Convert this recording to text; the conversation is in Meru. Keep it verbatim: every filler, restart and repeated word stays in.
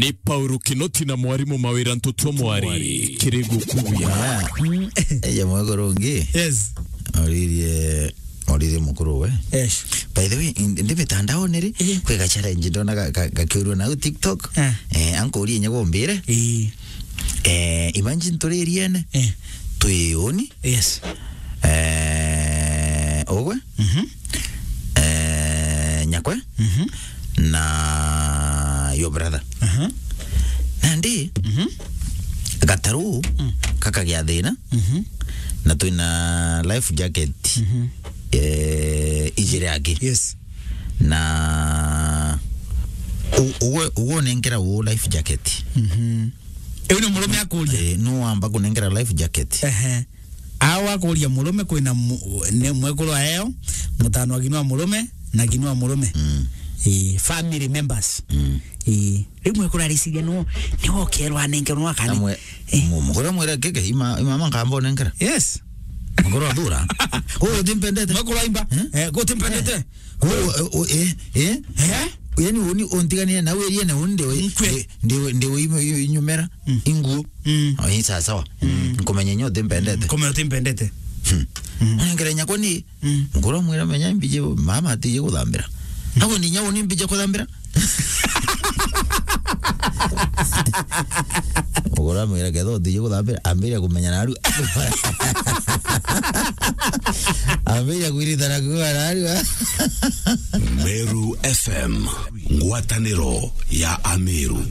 Ni Paulo Kinoti na mwarimu Mawira Ntutu Mwari. Kirigu kuya. Eja mwekuru ungi. Yes. Oririe, oririe mukuru we. Yes. By the way, in- ndi mitandaone ri, eh, kwi ga challenge ndona ga- ga- gakiurua nau TikTok. Eh. Eh, ankurie nyago mbire. Eh. Eh, imagine turi iriene. Eh. Twi uni. Yes. Eh, ugwe. Mhm. Eh, nyakwe. Mhm. Na your brother. Aha. Nandi, mhm, gataru, mm, kakagia thina. Mhm. Na twina life jacket. Mhm. Eh, ijiri aki. Yes. Na u- ugwe, ugwe unenkera u life jacket. Mhm. Iu ni murume akuria. Eh, nu wamba kunengera life jacket. Ehe. Au akuria murume kwina mu- ni mwekuru aeo, mutano wa ginwa murume na ginwa murume. Mm. Eh, family members. Mm. Eh, riu mwekuru ariciria no, ni wokerwa anenke no akani. Amwe, eh, mu- mukuru amwira keke, ima, ima mama nkamba unenkera. Yes. Mukuru athura. Ko utimpendete. Mwekuru aimba. Eh? Eh, ko utimpendete. Ko, eh, o- eh, eh? Eh? Yani uni untiganire na wiriene undi we. Nkwe. Eh, ndiwe, ndiwe ime- i- inyumera. Mm. Inguo. Mm. Oh, ni sawa sawa. Mm. Nkumenya nyo utimpendete. Nkumenya utimpendete. Hmm. Mm. Unengere nyakwa ni. Mm. Ngoro mwira menya mbije mama atije kuthambira. Nako ni nyau ni mbije kuthambira. Ngoro mwira ketho utije kuthambira, ambire kumenya naru. Ambire kwirita na kuwa naru. Meru F M, ngwataniro ya Ameru.